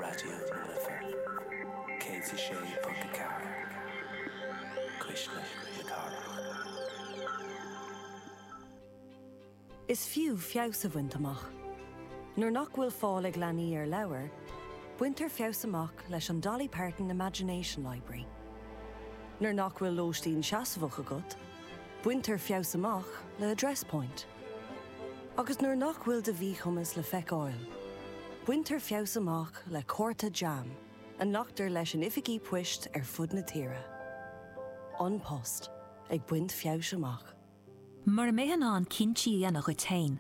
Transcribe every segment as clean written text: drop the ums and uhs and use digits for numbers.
Raidió na Life 106.4, Cuisle na Cathrach. Is fiú feabhas a bhaint amach. Nuair nach bhfuil fáil ag leanaí ar leabhair, baintear feabhas amach leis an Dolly Parton Imagination Library. Nuair nach bhfuil lóistín seasmhach agat, baintear feabhas amach le Address Point. Agus nuair nach bhfuil do mhíchumas le feiceáil, baintear feabhas amach le cárta JAM a nglactar leis in oifigí poist ar fud na tíre. An Post, ag baint feabhais amach. Mura mbeifeá in ann cinntí a dhéanamh dhuit féin,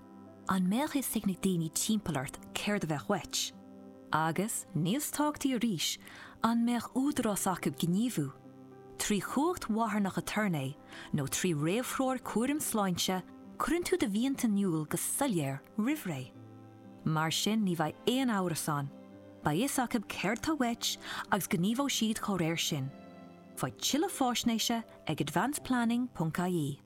an mbeadh fhios ag na daoine timpeall ort céard a bheadh uait? Agus, níos tábhachtaí arís, an mbeadh údarás acu gníomhú? Trí chumhacht mharthanach aturnae nó trí réamhthreoir cúraim sláinte, cuireann tú do mhianta in iúl go soiléir roimh ré. Mar sin ní bheidh aon amhras ann, beidh fhios acu céard tá uait agus gníomhóidh siad chomh réir sin. Faigh tuilleadh faisnéise ag advanceplanning ponc ie.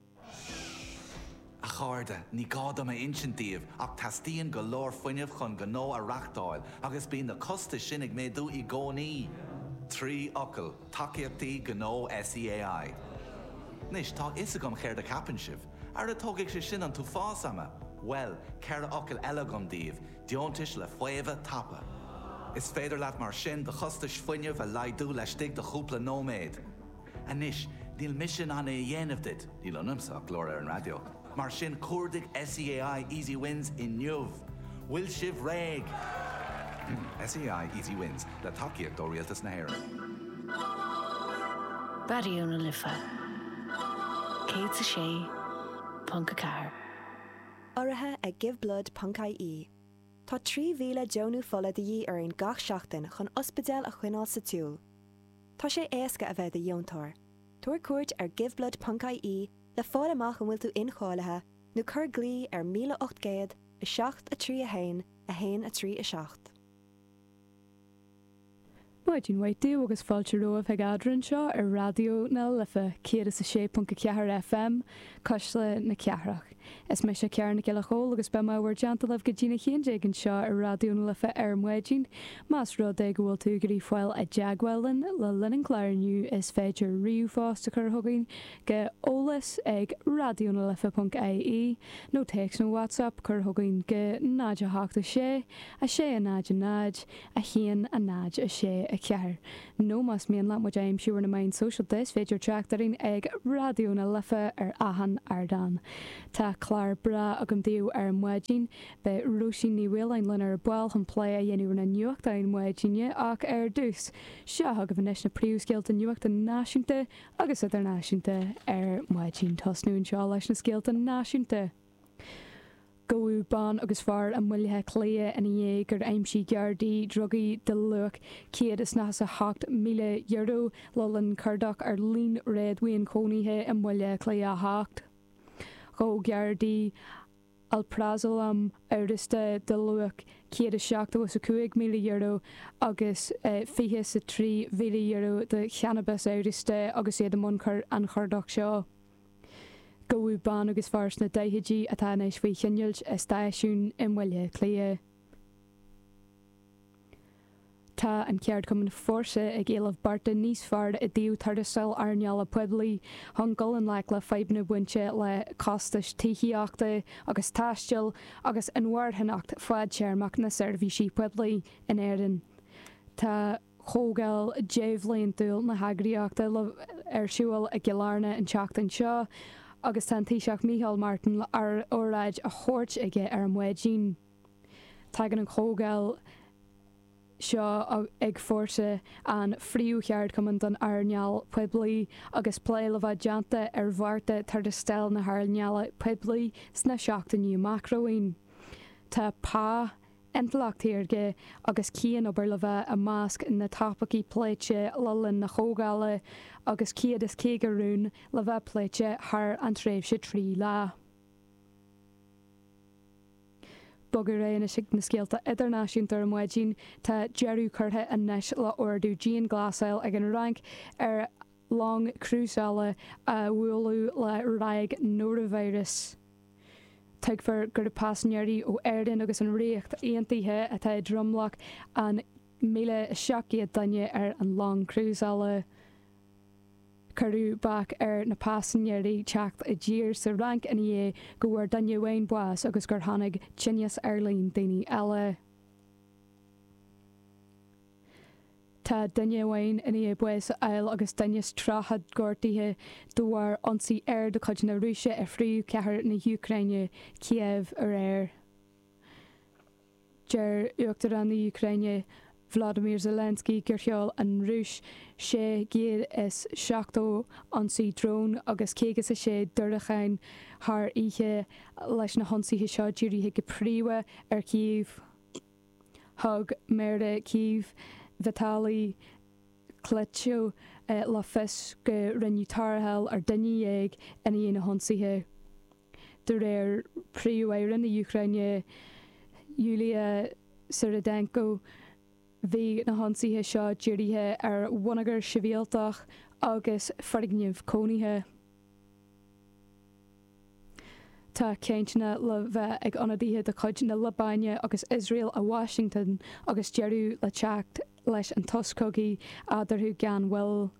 A chairde, ní gá dom a insint daoibh ach teastaíonn go leor fuinnimh chun gnó a reachtáil agus bíonn na costais sin ag méadú i gcónaí. 3 fhocal, tacaíochtaí gnó SEAI. Anois, tá a fhios agam céard a cheapann sibh. Ara tógfaidh sé sin an t-uafás ama! Bhuel, 4 fhocal eile agam daoibh, deontais le faomhadh tapa. Is féidir leat mar sin do chostais fuinnimh a laghdú laistigh de chúpla nóiméad. Anois, níl mise in ann é a dhéanamh duit, níl ionamsa ach glór ar an raidió, mar sin cuardaigh SEAI Easy Wins inniu! Bhfuil sibh réidh? SEAI Easy Wins, le tacaíocht ó Rialtas na hÉireann. Raidió na Life 106.4. Urraithe ag Giveblood ponc ie. Tá 3,000 deonú fola de dhíth orainn gach seachtain chun ospidéil a choinneáil sa tsiúl. Tá sé éasca a bheith i do dheontóir. Tabhair cuairt ar giveblood ponc ie le fáil amach an bhfuil tú incháilithe nó cuir glao ar 1800 7 3 1 1 3 7. Maidin mhaith daoibh agus fáilte romhaibh chuig Eadra anseo ar Raidió na Life 106.4 FM, Cuisle na Cathrach. Is mise Ciara Nic Giolla Chóill agus beidh mé i bhur dteannta libh go dtína 11 anseo ar Raidió na Life ar maidin. Más rud é go bhfuil tú ag iarraidh fáil i dteagmháil linn le linn an chláir inniu is féidir ríomhphost a chur chugainn go eolas ag raidionalife.ie nó téacs nó WhatsApp a chur chugainn go 0 8 6 6 0 0 1 0 6 4. Nó más mian leat muid a aimsiú ar na meáin sóisialta is féidir teacht orainn ag Raidió na Life ar achan ardán. Tá clár breá agam daoibh ar maidin. Beidh Róisín Ní Mhaoláin linn ar ball chun plé a dhéanamh ar na nuachtáin maidine ach ar dtús, seo chugaibh anois na príomhscéalta nuachta náisiúnta agus idirnáisiúnta ar maidin. Tosnú anseo leis na scéalta náisiúnta. Gabhadh bean agus fear i mBaile Átha Cliath ina dhiaidh gur aimsigh Gardaí drugaí de luach €198,000 le linn cuardach ar líon réadmhaoin cónaithe i mBaile Átha Cliath 8. Ghabh Gardaí alprazolam amhrasta de luach €175,000 agus €23,000 de channabas amhrasta agus iad i mbun an chuardach seo. Gabhadh bean agus fear sna daichidí atá anois faoi choinneáil i stáisiún i mBaile Átha Cliath. Tá an ceardchumann Fórsa ag éileamh bearta níos fearr i dtaobh tuarastail earnála poiblí chun dul i ngleic le fadhbanna bainte le costais tithíochta agus taistil agus inmharthanacht fadtéarmach na seirbhísí poiblí in Éirinn. Tá. Comhdháil débhliantúil na heagraíochta ar siúl i gCill Airne an tseachtain seo agus tá an Taoiseach Micheál Martin le óráid a thabhairt aige ar maidin. Tagann an chomhdháil seo ag Fórsa, an phríomhcheardchumann don earnáil poiblí, agus plé le bheith déanta ar bhearta tuarastail na hearnála poiblí sna seachtainí amach romhainn. Tá pá. Intleacht shaorga agus cianobair le bheith i measc na dtopaicí pléite le linn na comhdhála agus 150 rún le bheith pléite thar an tréimhse 3 lá. Bogadh ar aghaidh anois chuig na scéalta idirnáisiúnta ar maidin. Tá deireadh curtha anois le ordú dianghlasáil ag an Fhrainc ar long crúsála a buaileadh le ráig nóravíreas. Tuigtear gurb paisinéirí ó Éirinn agus an Ríocht Aontaithe atá i dtromlach an. 1,700 duine ar an long crúsála. Cuireadh bac ar na paisinéirí teacht i dtír sa Fhrainc ina dhiaidh go bhfuair duine amháin bás agus gur tháinig tinneas ar líon daoine eile. Tá duine amháin i ndiaidh bás a fháil agus duine is 30 gortaithe de bharr ionsaí aeir de chuid na Rúise ar phríomhchathair na hÚcráine, Cív, aréir. Deir Uachtarán na hÚcráine, Volodymyr Zelensky gur sheol an Rúis 670 ionsaí drón agus 56 diúracán thar oíche, leis na hionsaithe seo dírithe go príomha ar Chív. Thug Méara Chív, Vitali Klitschko, le fios go rinneadh tarrtháil ar dhuine dhéag i ndiaidh na hionsaithe. De réir Príomh-Aire na hÚcráine, Yulia Svyrydenko, bhí na hionsaithe seo dírithe ar bhonneagar sibhialtach agus foirgnimh cónaithe. Tá cainteanna le bheith ag ionadaithe de chuid na Liobáine agus Iosrael i Washington agus deireadh le teacht leis an tsos cogaidh eadarthu gan mhoill.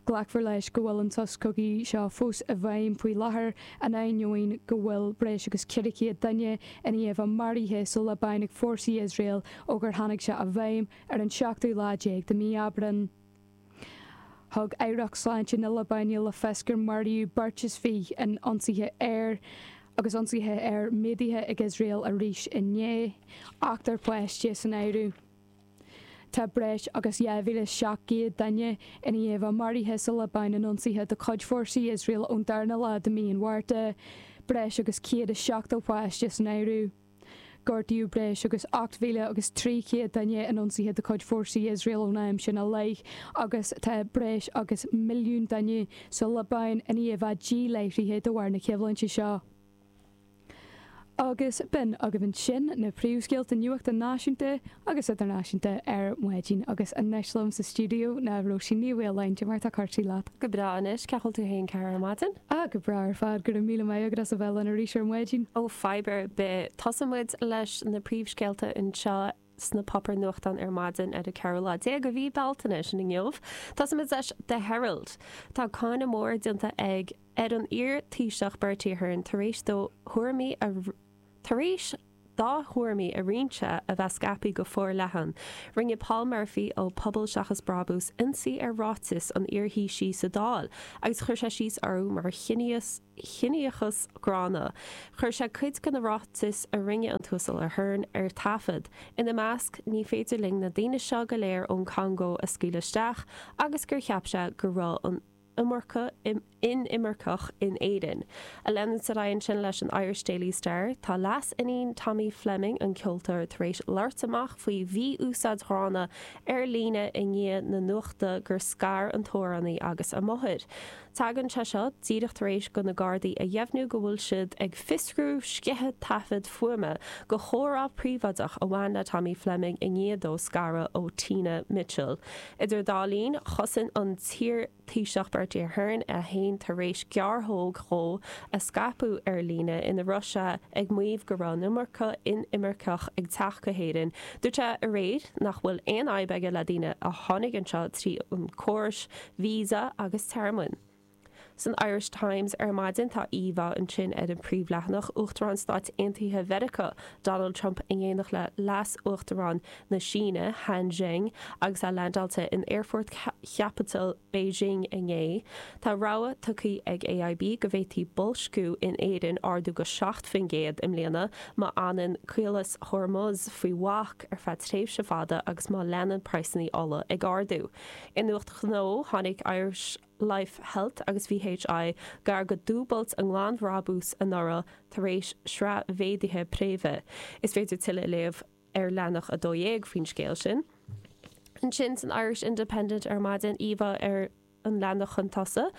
Glacfar leis go bhfuil an sos cogaidh seo fós i bhfeidhm faoi láthair, in ainneoin go bhfuil breis agus 400 duine i ndiaidh a bheith maraithe sa Liobáin ag fórsaí Iosrael ó gur tháinig sé i bhfeidhm ar an seachtú lá déag de mhí Aibreán. Thug Aireacht Sláinte na Liobáine le fios gur maraíodh beirt is 20 in ionsaithe aeir agus ionsaithe aeir méadaithe ag Iosrael arís inné, ochtar páiste san áireamh. Tá breis agus 2,700 duine i ndiaidh a bheith maraithe sa Liobáin in ionsaithe de chuid fórsaí Iosrael ón darna lá de mhí an Mhárta, breis agus 170 páiste san áireamh. Gortaíodh breis agus 8,300 duine in ionsaithe de chuid fórsaí Iosrael ón am sin i leith agus tá breis agus milliún duine sa Liobáin i ndiaidh a bheith díláithrithe de bharr na coimhlinte seo. Agus b'in agaibh ansin na príomhscéalta nuachta náisiúnta agus idirnáisiúnta ar maidin. Agus anois liom sa stiúideo ná Róisín Ní Mhaoláin. Cad é mar tá cúrsaí leat? Go breá anois, cén chaoi a bhfuil tú féin a chara ar maidin? Ah, go breá ar fad, go raibh míle maith agat as a bheith linn arís ar maidin. Ó, fadhb ar bith. Tosaíonn muid leis na príomhscéalta anseo sna páipéir nuachtáin ar maidin ar an ceathrú lá déag de mhí Bealtaine, sin inniu. Tosaíonn muid leis The Herald. Tá cáineadh mór déanta ag. ar an iar-Taoiseach Bertie Ahern tar éis dó thuairimí a tar éis dá thuairimí a roinnt a bheith scaipthe go forleathan. Rinne Paul Murphy ó Pobal Seachas Brabús ionsaí ar ráitis an iar-Thaoisigh sa Dáil agus chuir sé síos orthu mar chiníochas gránna. Chuir sé cuid de na ráitis a rinne an tUasal Ahern ar taifead. Ina measc, ní féidir linn na daoine seo go léir ón Congó a scaoileadh isteach agus gur cheap sé go raibh an iomarca inimirceach in Éirinn. Ag leanúint ar aghaidh ansin leis an Irish Daily Star, tá leas-iníon Tommy Fleming, an ceoltóir, tar éis labhairt amach faoi mhí-úsáid ghránna ar líne i ndiaidh na nuachta gur scar an t-amhránaí agus a máthair. Tagann sé seo díreach tar éis do na Gardaí a dheimhniú go bhfuil siad ag fiosrú sceitheadh taifead fuaime de chomhrá príobháideach a bhain le Tommy Fleming i ndiaidh dó scaradh ó Tina Mitchell. Idir dá linn, chosain an t-iar-Thaoiseach Bertie Ahern é féin tar éis gearrthóg dhó a scaipeadh ar líne ina raibh sé ag maíomh go raibh an iomarca inimirceach ag teacht go hÉirinn. Dúirt sé aréir nach bhfuil aon fhadhb aige le daoine a tháinig anseo trí an córais visa agus tearmainn. San Irish Times ar maidin tá íomhá ansin ar an príomhleathanach, Uachtarán Stáit Aontaithe Mheiriceá, Donald Trump in éineacht le Leas-Uachtarán na Síne, Han Zheng, agus é leaindeáilte in aerfort chaipitil Beijing inné. Tá rabhadh tugtha ag AIB go bhféadfaidh boilsciú in Éirinn ardú go 7% i mbliana má fhanann Caolas Hormuz faoi bhac ar feadh tréimhse fada agus má leanann praghsanna ola ag ardú. I nuacht ghnó, tháinig Irish. Life Health agus VHI gar go dúbailt a nglanbhrabús anuraidh tar éis sraith mhéaduithe préimhe. Is féidir tuilleadh a léamh ar leathanach 12 faoin scéal sin. Ansin san Irish Independent ar maidin, íomhá ar an leathanach chun tosaigh.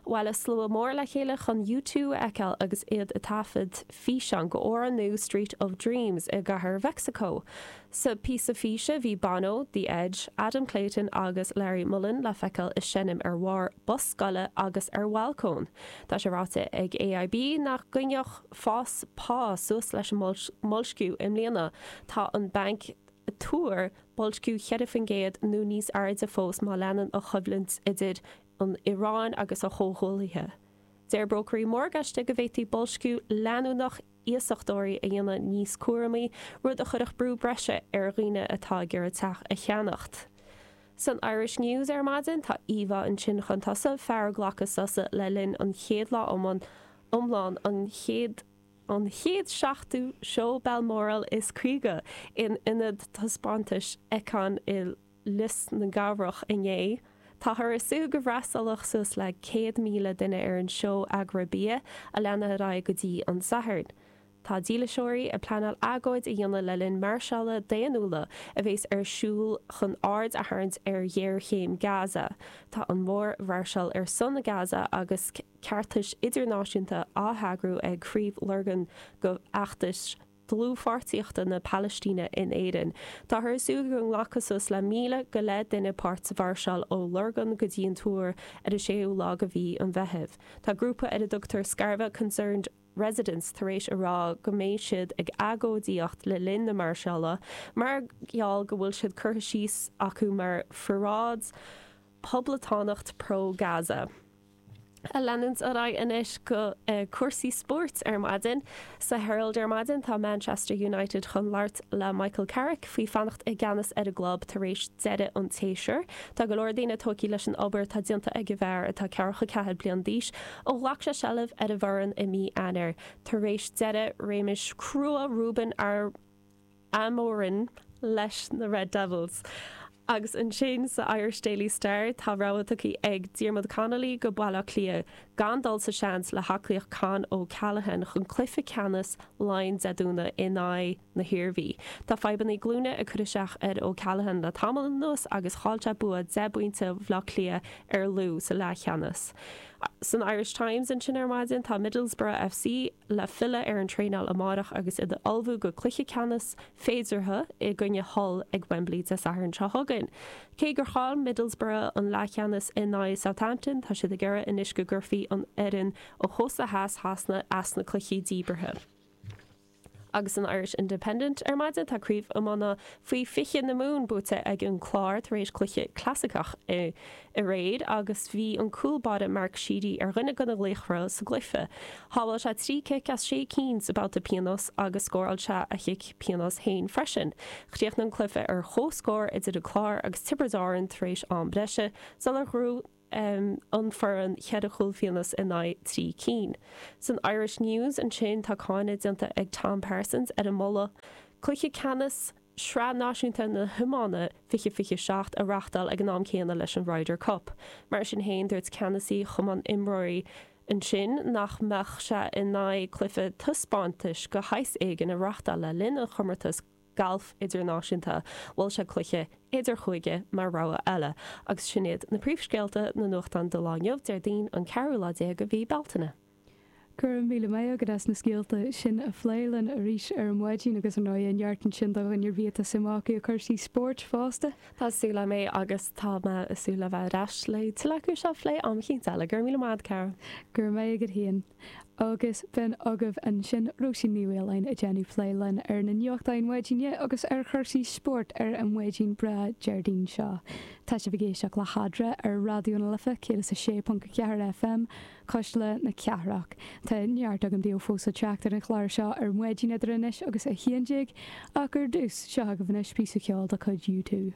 Bhailigh slua mór le chéile chun U2 a fheiceáil agus iad ag taifead físeán go amhrán nua Street of Dreams i gCathair Mheicsiceo. Sa phíosa físe bhí Bono, The Edge, Adam Clayton agus Larry Mullen le feiceáil ag seinm ar bharr bus scoile agus ar bhalcóin. Tá sé ráite ag AIB nach gcoinneodh fás pá suas leis an mboilsciú i mbliana. Tá an banc. ag tuar boilsciú 4% nó níos airde fós má leanann an choimhlint idir an Iaráin agus a chomhghuaillithe. Deir brócairí morgáiste go bhféadfaí boilsciú leanúnach iasachtóirí a dhéanamh níos cúramaí, rud a chuirfeadh brú breise ar dhaoine atá ag iarraidh teach a cheannacht. San Irish News ar maidin, tá íomhá ansin chun tosaigh, fear ag glacadh sosa le linn an chéad lá iomlán an chéad an chéad seachtú Seó Balmoral is 50 in Ionad Taispeántais Icon i Lios na gCabrach inné. Táthar ag súil go bhfreastalódh suas le 100,000 duine ar an seó agraibhia a leanfaidh ar aghaidh go dtí an Satharn. Tá dílseoirí ag pleanáil agóid a dhéanamh le linn máirseála daonnúla a bheas ar siúl chun aird a tharraingt ar ghéarchéim Gaza. Tá an mhórmháirseáil ar son Gaza agus ceartais idirnáisiúnta á heagrú ag Craobh Lurgan de fheachtas dlúthpháirtíochta na Palaistíne in Éirinn. Táthar ag súil go nglacfaidh suas le 1,000 go leith duine páirt sa mháirseáil ó Lurgan go dtí an Túr ar an séú lá de mhí an Mheithimh. Tá grúpa ar a dtugtar Scarva Concerned Residents tar éis a rá go mbeidh siad ag agóidíocht le linn na máirseála mar gheall go bhfuil siad curtha síos acu mar pharáid poblachtánach pro-Gaza. Ag leanúint ar aghaidh anois go cúrsaí spóirt ar maidin. Sa Herald ar maidin tá Manchester United chun labhairt le Michael Carrick faoi fanacht i gceannas ar an gclub tar éis deireadh an tséasúir. Tá go leor daoine tógtha leis an obair atá déanta ag an bhfear atá 44 bliain d'aois ó ghlac sé seilbh ar an bhfoireann i mí Eanáir tar éis deireadh réimeas crua Ruben Amorim leis na Red Devils. Agus ansin sa Irish Daily Star tá rabhadh tugtha ag Diarmuid Connolly go Baile Átha Cliath gan dul sa seans le haclaíocht Con O'Callaghan chun cluiche ceannais Laighean Dé Domhnaigh in aghaidh na hIarmhí. Tá fadhbanna glúine ag cur isteach ar O'Callaghan le tamall anuas agus chaill sé bua 10 bpointe Bhaile Átha Cliath ar Lú sa leathcheannas. San Irish Times ansin ar maidin tá Middlesbrough FC le filleadh ar an traenáil amárach agus iad ag ullmhú go cluiche ceannais féideartha i gcoinne Hull ag Wembley Dé Sathairn seo chugainn. Cé gur chaill Middlesbrough an leathcheannas in aghaidh Southampton, tá siad ag iarraidh anois go gcuirfí an fhoireann ó chósta theas Shasana as na cluichí díbeartha. Agus san Irish Independent ar maidin, tá Craobh Iomána Faoi 20 na Mumhan buaite ag an Clár tar éis cluiche clasaiceach aréir agus bhí an cúl báire Mark Sheedy ar dhuine de na laochra sa gcluiche. Shábháil sé 3 cic as 6 cinn sa babhta pionóis agus scóráil sé a chic pionóis féin freisin. Chríochnaigh an cluiche ar chomhscór idir an Clár agus Tiobraid Árann tar éis am breise sular ghnóthaigh an foireann cheithre chúl phionóis in aghaidh 3 cinn. San Irish News ansin tá cáineadh déanta ag Tom Parsons ar an moladh cluiche ceannais Sraith Náisiúnta na hIomána 2027 a reáchtáil ag an am céanna leis an Ryder Cup. Mar sin féin, dúirt ceannasaí Chumann Imreoirí ansin nach mbeadh sé in aghaidh cluiche taispeántais de shaghas éigin a reáchtáil le linn an chomórtais Galf Idirnáisiúnta. Mhol sé cluiche idirchúige mar rogha eile. Agus sin iad na príomhscéalta na nuachtán do lá inniu, Déardaoin an ceathrú lá déag de mhí Bealtaine. Go raibh míle maith agat as na scéalta sin a phlé linn arís ar maidin agus ar ndóigh neart ansin do dhuine ar bith atá suim acu i cúrsaí spóirt fosta. Tá súil agam é agus tá mé ag súil le bheith ar ais le tuilleadh acu seo a phlé am eicínt eile. Go raibh míle maith agat, Cara. Go raibh maith agat féin. Agus b'in agaibh ansin Róisín Ní Mhaoláin ag déanamh plé linn ar na nuachtáin maidine agus ar chúrsaí spóirt ar an mhaidin breá Déardaoin seo. Tá sibh ag éisteacht le hEadra ar Raidió na Life 106.4 FM, Cuisle na Cathrach. Tá neart agam daoibh fós le teacht ar an chlár seo ar maidin idir anois agus 11 ach ar dtús, seo agaibh anois píosa ceoil de chuid U2.